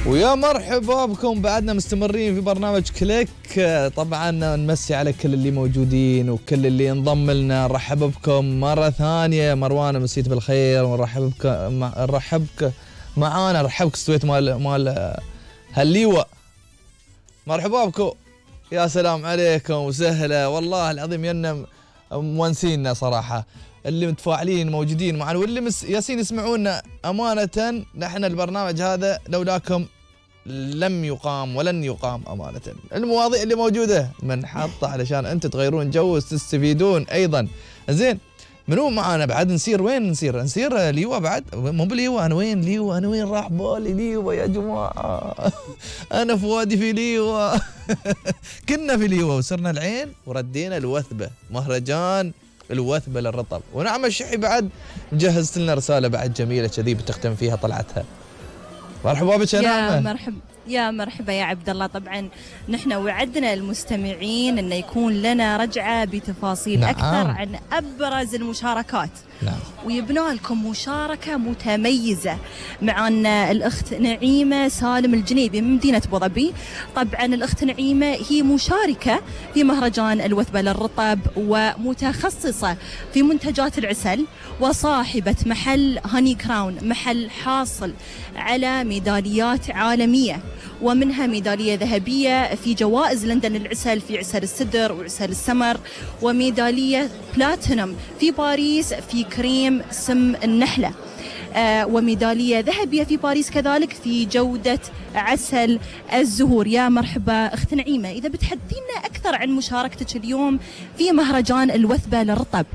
ويا مرحبا بكم، بعدنا مستمرين في برنامج كليك. طبعا نمسي على كل اللي موجودين وكل اللي انضم لنا. نرحب بكم مرة ثانية. مروان مسيت بالخير، ونرحب بك معانا. رحبك استويت مال هالليوة. مرحبا بكم، يا سلام عليكم وسهلا والله العظيم. ينا مونسينا صراحة، اللي متفاعلين موجودين معنا، واللي ياسين يسمعونا. أمانة نحن البرنامج هذا لولاكم لم يقام ولن يقام. أمانة المواضيع اللي موجودة منحطة علشان أنت تغيرون جو وتستفيدون أيضا. زين، منو معانا بعد؟ نسير وين؟ نسير ليوة بعد؟ مو بليوة. أنا وين ليوة؟ أنا وين راح بالي ليوة يا جماعة؟ أنا فؤادي في ليوة. كنا في ليوة وصرنا العين وردينا الوثبة، مهرجان الوثبة للرطب. ونعم الشحي بعد مجهزت لنا رسالة بعد جميلة كذي بتختم فيها طلعتها. مرحبا بك يا مرحبا يا عبد الله. طبعا نحن وعدنا المستمعين انه يكون لنا رجعة بتفاصيل اكثر عن ابرز المشاركات. ويبنى لكم مشاركة متميزة معنا الأخت نعيمة سالم الجنيبي من مدينة أبو ظبي. طبعا الأخت نعيمة هي مشاركة في مهرجان الوثبة للرطب، ومتخصصة في منتجات العسل، وصاحبة محل هاني كراون، محل حاصل على ميداليات عالمية، ومنها ميدالية ذهبية في جوائز لندن للعسل في عسل السدر وعسل السمر، وميدالية بلاتينوم في باريس في كريم سم النحلة، وميدالية ذهبية في باريس كذلك في جودة عسل الزهور. يا مرحبا أخت نعيمة، إذا بتحدثينا أكثر عن مشاركتك اليوم في مهرجان الوثبة للرطب.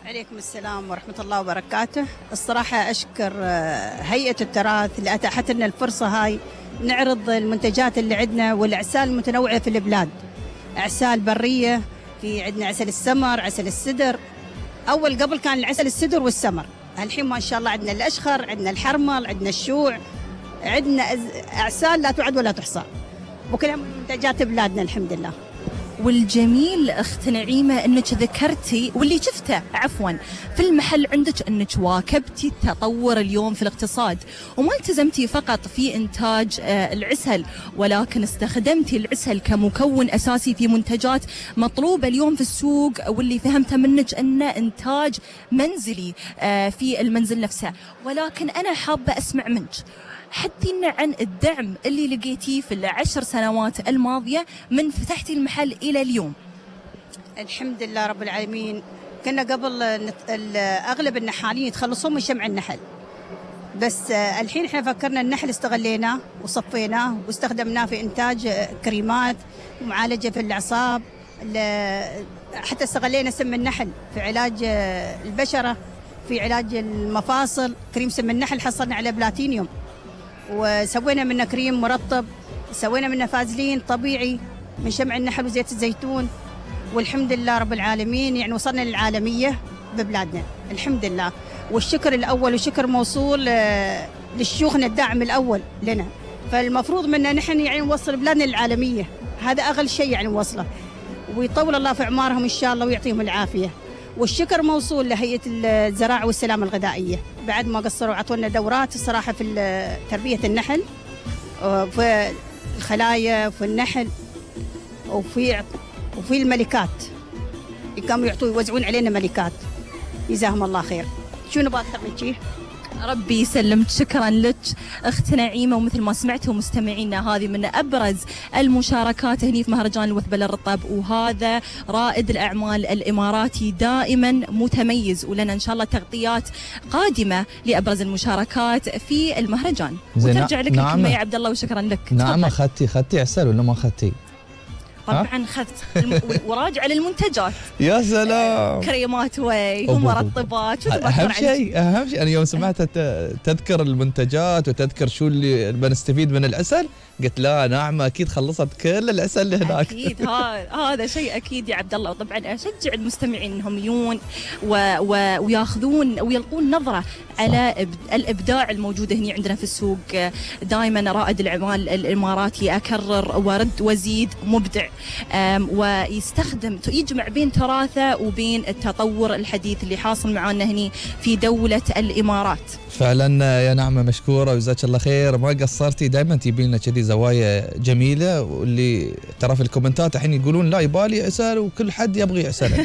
عليكم السلام ورحمة الله وبركاته. الصراحة أشكر هيئة التراث اللي أتاحت لنا الفرصة هاي نعرض المنتجات اللي عندنا والأعسال المتنوعة في البلاد. أعسال برية، في عندنا عسل السمر، عسل السدر. أول قبل كان العسل السدر والسمر، الحين ما شاء الله عندنا الأشخر، عندنا الحرمل، عندنا الشوع، عندنا أعسال لا تعد ولا تحصى، وكلها منتجات بلادنا الحمد لله. والجميل أخت نعيمة أنك ذكرتي واللي شفته في المحل عندك أنك واكبتي التطور اليوم في الاقتصاد، وما التزمتي فقط في إنتاج العسل، ولكن استخدمتي العسل كمكون أساسي في منتجات مطلوبة اليوم في السوق، واللي فهمته منك أنه إنتاج منزلي في المنزل نفسه. ولكن أنا حابة أسمع منك، حدثينا عن الدعم اللي لقيتيه في ال10 سنوات الماضية من فتحتي المحل إلى اليوم. الحمد لله رب العالمين. كنا قبل أغلب النحالين يتخلصون من شمع النحل، بس الحين احنا فكرنا النحل استغليناه وصفيناه واستخدمناه في إنتاج كريمات ومعالجة في الأعصاب، حتى استغلينا سم النحل في علاج البشرة، في علاج المفاصل. كريم سم النحل حصلنا على بلاتينيوم، وسوينا منه كريم مرطب، سوينا منه فازلين طبيعي من شمع النحل وزيت الزيتون. والحمد لله رب العالمين، يعني وصلنا للعالمية ببلادنا الحمد لله. والشكر الأول وشكر موصول للشيوخنا الداعم الأول لنا. فالمفروض منا نحن يعني نوصل بلادنا للعالمية، هذا أغلى شيء يعني نوصله، ويطول الله في أعمارهم إن شاء الله ويعطيهم العافية. والشكر موصول لهيئة الزراعة والسلامة الغذائية، بعد ما قصروا عطونا دورات الصراحة في تربية النحل، في الخلايا، في النحل، وفي الملكات. قاموا يوزعون علينا ملكات، جزاهم الله خير. شو نبغى أكثر من شيء؟ ربي يسلمك. شكرا لك أخت نعيمة. ومثل ما سمعتوا مستمعينا، هذه من أبرز المشاركات هني في مهرجان الوثبة للرطب، وهذا رائد الأعمال الإماراتي دائما متميز، ولنا إن شاء الله تغطيات قادمة لأبرز المشاركات في المهرجان. وترجع لك الكلمة يا عبد الله، وشكرا لك. نعم. أخذتي عسل ولا ما أخذتي؟ طبعا اخذت وراجع للمنتجات. يا سلام. كريمات ومرطبات. اهم شيء انا يوم سمعت تذكر المنتجات وتذكر شو اللي بنستفيد من العسل، قلت لا نعمة اكيد خلصت كل العسل اللي هناك. اكيد هذا شيء اكيد يا عبد الله. وطبعا اشجع المستمعين انهم يجون وياخذون ويلقون نظرة على الابداع الموجود هنا عندنا في السوق. دائما رائد الاعمال الاماراتي اكرر وارد وازيد، مبدع ويستخدم يجمع بين تراثه وبين التطور الحديث اللي حاصل معنا هني في دولة الإمارات. فعلا يا نعمة مشكورة وجزاك الله خير، ما قصرتي، دائما تجيبين لنا كذي زوايا جميلة، واللي ترى في الكومنتات الحين يقولون لا يبالي عسل وكل حد يبغي عسل.